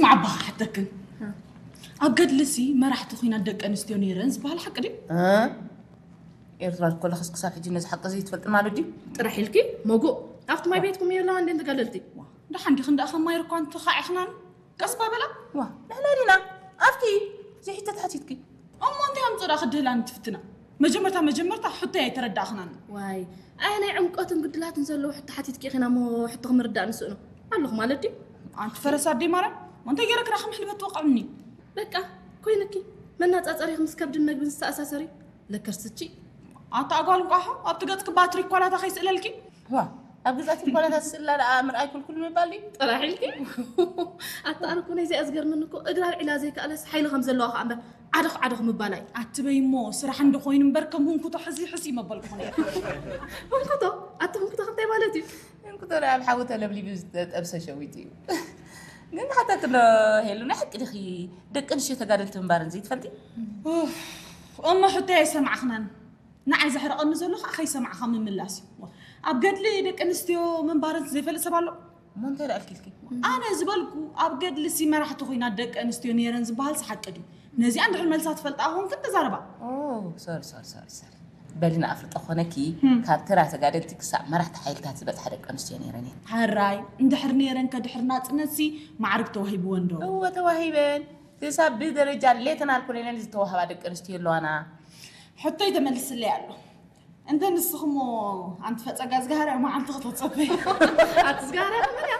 ማዕባ ሓተክን ኣብ ገድልሲ መራሕቲ ኩናት ደቂ ኣንስትዮ ነይረን ዝበሃል ሓቂ ድዩ? ኤርትራ ኮለኽስ ክሳብ ሕጂ ነዚ ሓቂ እዚ ትፈልጥ ማለት ድዩ? ጥራሕ ኢልኪ ሞጉእ ኣብቲ ማይ ቤትኩም የለዋ እንዴ ተጋደልቲ? ደሓን ዲኽን ደኣ ከማይ ርኳን ተኻዒኽናን ቀስ ባበላ። ዋ ንሕና ዲና ኣብቲ ዘይሕተት ሓቲትኪ። እሞ እንታይ ኣምፅኦ ደኣ ክድህላኒ ትፍትና? መጀመርታ መጀመርታ ሕቶይ ኣይተረዳእኽናን። ዋይ ኣይ ናይ ዕምቆትን ግድላትን ዘለዎ ሕቶ ሓቲትኪ ኢኺና እሞ ሕቶ ክምርዳእ ንስእኖ ኣለኹ ማለት ድዩ? ኣንቲ ፈረስ ኣደይ ማርያም እንታይ ገይረ ክዳ ከም ሕልበት ትወቕዕኒ? በቃ ኮይንኪ መናፃፀሪኺ ምስ ከብድን መግብን ዝተኣሳሰሪ ለከርስቺ ኣታ ኣጓል እንቋሖ ኣብቲ ገፅኪ ባትሪ ኳላታ ከይስእለልኪ። ዋ ኣብ ገዛቲ ኳላታት ስእላ ደኣ ምርኣይ ኩልኩል ምባል ድዩ? ጥራሕ ኢልኪ ኣታ ኣነ እኮ ናይዚኣ ዝገርመኒ እኮ እግራ ኣልዒላ ዘይከኣለስ ሓይሊ ከም ዘለዋ ከዓ እምበር ዓደኽ ዓደኽ ምባላ እዩ። ኣትበይ እሞ ስራሕ እንዶ ኮይኑ እምበር ከም ህንኩቶ ሕዚ ሕሲ መበልኩ ነይረ። ህንኩቶ ኣቲ ህንኩቶ እንታይ ማለት እዩ? እንኩቶ ደኣ ኣብ ሓዊ ተለብሊቡ ዝተጠብሰ ሸዊት እዩ። ግን ሓተት ዶ ሄሉ ናይ ሓቂ ዲኺ ደቂ ኣንስትዮ ተጋደልቲ ምንባረን ዘይትፈልጢ? እሞ ሕቶ ኣይሰማዕኽናን። ንዓይ ዘሕርቐኒ ዘሎ ከዓ ከይሰማዕኻ ምምላስ እዩ። ኣብ ገድሊ ደቂ ኣንስትዮ ምንባረን ዘይፈልጥ ሰብ ኣሎ? እሞ እንታይ ደኣ ኣልኪልኪ? ኣነ ዝበልኩ ኣብ ገድሊ ሲ መራሕቲ ኮይና ደቂ ኣንስትዮ ነይረን ዝበሃል ሓቂ ድዩ? ነዚኣ እንድሕር መልሳ ትፈልጣ ኮንክን ተዛረባ። ሶሪ ሶሪ ሶሪ ሶሪ በሊ ንኣፍልጦ ኮነኪ ካብ ተራ ተጋደልቲ ክሳብ መራሕቲ ሓይልታት ዝበፅሓ ደቂ ኣንስትዮ ነይረን እየን። ሕራይ እንድሕር ነይረን ከድሕር ናፅነት ሲ ማዕርግ ተዋሂብወን ዶ? እወ ተዋሂበን። ክሳብ ብደረጃ ሌተናል ኮሎኔል ዝተዋህባ ደቂ ኣንስትዮ ኣለዋና። ሕቶይ ተመልስለይ ኣሎ። እንተ ንስኽሞ ኣንቲ ፈፀጋ ዝጋህርያ መዓልቲ ክተፀበይ። ኣቲ ዝጋህርያ ከመን እያ?